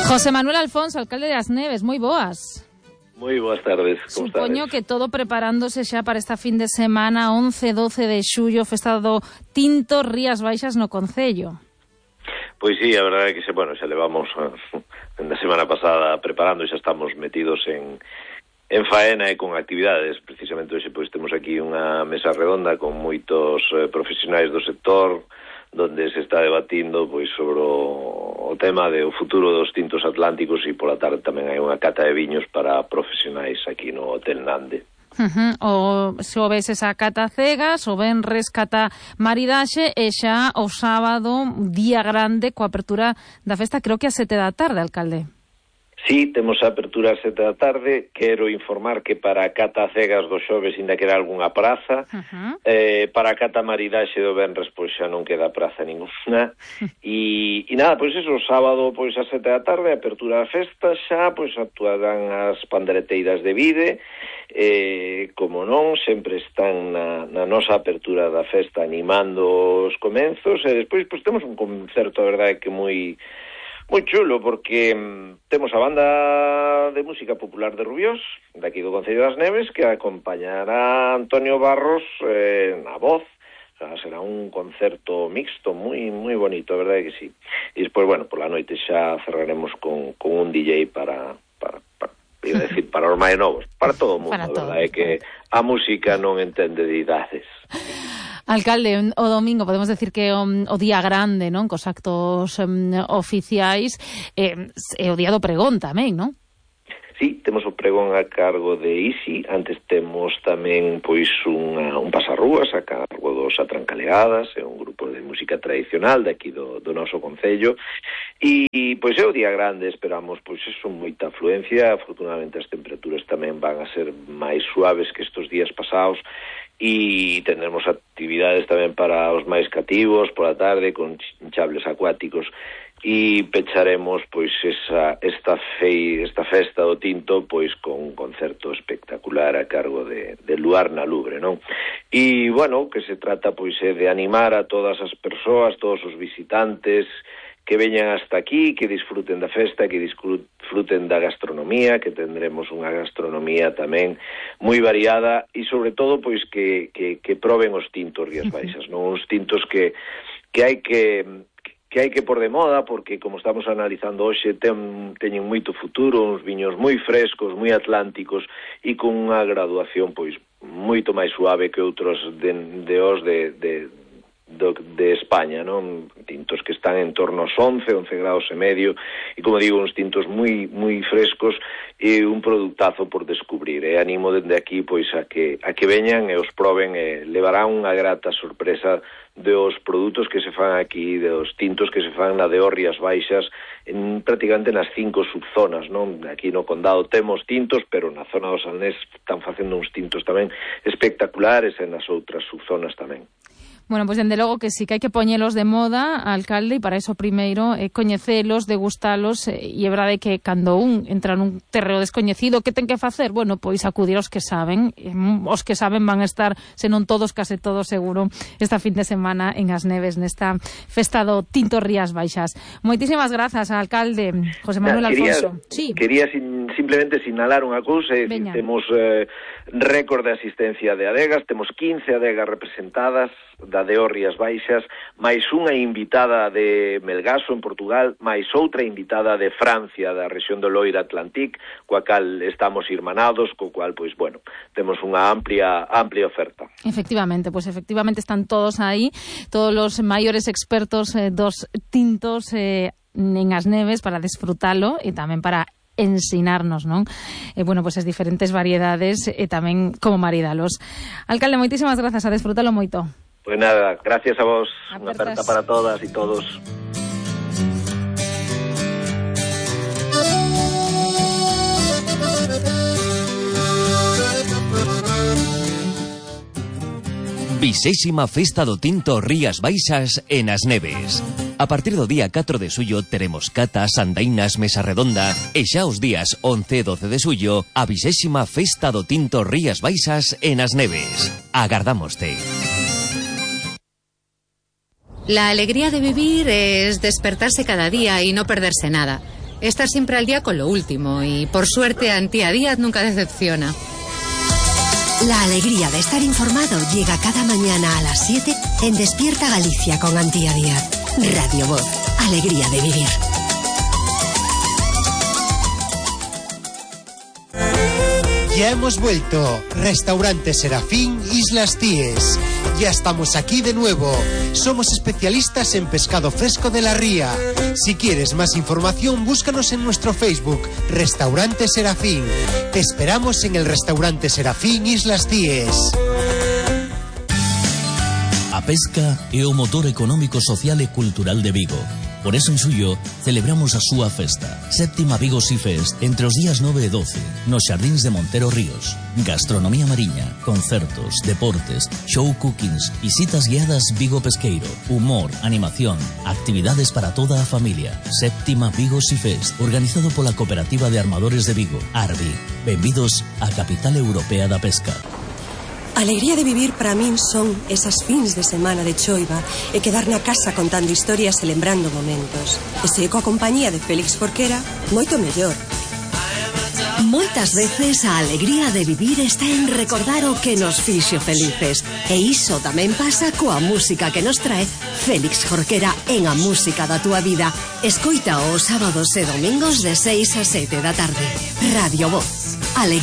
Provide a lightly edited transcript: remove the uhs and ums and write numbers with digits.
José Manuel Alfonso, alcalde de As Neves, moi boas. Moi boas tardes, como Supoño estades? que todo preparándose xa para esta fin de semana, 11 e 12 de xullo, festa do Tinto Rías Baixas no Concello. Pois sí, a verdade é que xa levamos na semana pasada preparando e xa estamos metidos en faena e con actividades. Precisamente hoxe pois temos aquí unha mesa redonda con moitos profesionais do sector, donde se está debatindo pois sobre o tema do futuro dos tintos atlánticos, e pola tarde tamén hai unha cata de viños para profesionais aquí no Hotel Nande. O ves esa cata cegas, o venres cata maridaxe, e xa o sábado, día grande, coa apertura da festa, creo que a 7 da tarde, alcalde. Sí, temos a apertura a 7 da tarde. Quero informar que para a cata cegas do xoves ainda queda algunha praza. Para a cata maridaxe do venres pois xa non queda praza ninguna. E nada, pois eso, o sábado pois a 7 da tarde, a apertura da festa, xa pois actuarán as pandereteiras de Vide. Como non, sempre están na nosa apertura da festa animando os comenzos, e despois pois temos un concerto, a verdade, que moi chulo, porque temos a banda de música popular de Rubiós, daqui do Concello das Neves, que acompañará a Antonio Barros na voz. O sea, será un concerto mixto moi bonito, a verdade que sí. E despois, pola noite xa cerraremos con un DJ para os máis novos, para todo o mundo, a verdade é que a música non entende de idades. Alcalde, o domingo podemos decir que o día grande, non? Cos actos oficiais, é o día do pregón tamén, non? Sí, temos o pregón a cargo de Isi. Antes temos tamén pois un pasarrúas a cargo dos Atrancaleadas, é un grupo de música tradicional daqui do noso concello. E pois é o día grande, esperamos pois eso, moita afluencia. Afortunadamente as temperaturas tamén van a ser máis suaves que estes días pasados, e tendremos actividades tamén para os máis cativos pola tarde, con chables acuáticos, e pecharemos pois esta festa do tinto pois con un concerto espectacular a cargo de Luar na Lubre, non? E, que se trata pois de animar a todas as persoas, todos os visitantes que veñan hasta aquí, que disfruten da festa, que disfruten da gastronomía, que tendremos unha gastronomía tamén moi variada, e sobre todo pois que proben os tintos Rías Baixas, non? Uns tintos que hai que por de moda, porque como estamos analizando hoxe teñen moito futuro, uns viños moi frescos, moi atlánticos, e con unha graduación pois moito máis suave que outros de España, non? Tintos que están en torno aos 11 graus e medio, e como digo, uns tintos moi frescos, e un productazo por descubrir. E animo dende aquí pois a que veñan e os proben, e levarán unha grata sorpresa dos produtos que se fan aquí, dos tintos que se fan na de Rías Baixas, prácticamente nas 5 subzonas, non? Aquí no condado temos tintos, pero na zona do Salnés están facendo uns tintos tamén espectaculares, e nas outras subzonas tamén. Bueno, pois dende logo que sí, que hai que poñelos de moda, alcalde, e para iso primeiro coñecelos, degustalos, e é verdade que cando un entra nun terreo descoñecido, que ten que facer? Bueno, pois acudir aos que saben, os que saben van a estar, senón todos, case todos seguro, esta fin de semana en As Neves, nesta festa do Tinto Rías Baixas. Moitísimas grazas, alcalde José Manuel Alfonso. Quería simplemente sinalar unha cousa, temos récord de asistencia de adegas, temos 15 adegas representadas da de Rías Baixas, máis unha invitada de Melgaso, en Portugal, máis outra invitada de Francia, da rexión do Loira Atlantic, coa cal estamos irmanados, co cual, pois, temos unha amplia oferta. Efectivamente están todos aí, todos os maiores expertos dos tintos en As Neves para desfrutalo e tamén para ensinarnos, non? As diferentes variedades e tamén como maridalos. Alcalde, moitísimas grazas, a desfrutalo moito. Pues nada, gracias a vos. Unha aperta para todas e todos. Vixésima Festa do Tinto Rías Baixas en As Neves. A partir do día 4 de xullo teremos catas, andainas, mesa redonda, e xa os días 11 e 12 de xullo a vixésima Festa do Tinto Rías Baixas en As Neves. Agardámoste. La alegría de vivir es despertarse cada día y no perderse nada. Está siempre al día con lo último y por suerte Antía Díaz nunca decepciona. La alegría de estar informado llega cada mañana a las 7 en Despierta Galicia con Antía Díaz. Radio Voz, alegría de vivir. Ya hemos vuelto. Restaurante Serafín, Islas Cíes. Ya estamos aquí de nuevo. Somos especialistas en pescado fresco de la ría. Si quieres más información, búscanos en nuestro Facebook, Restaurante Serafín. Te esperamos en el Restaurante Serafín, Islas Cíes. A pesca é o motor económico, social e cultural de Vigo. Por eso en suyo celebramos a súa festa, Séptima Vigo Sea Fest, entre os días 9 e 12, nos xardíns de Montero Ríos. Gastronomía mariña, concertos, deportes, show cookings, visitas guiadas Vigo Pesqueiro, humor, animación, actividades para toda a familia. Séptima Vigo Sea Fest, organizado pola Cooperativa de Armadores de Vigo, ARBI. Benvidos á capital europea da pesca. A alegría de vivir para min son esas fins de semana de choiva e quedar na casa contando historias e lembrando momentos. E se coa compañía de Félix Jorquera, moito mellor. Moitas veces a alegría de vivir está en recordar o que nos fixo felices. E iso tamén pasa coa música que nos trae Félix Jorquera en A Música da Túa Vida. Escoita os sábados e domingos de 6 a 7 da tarde. Radio Voz, alegría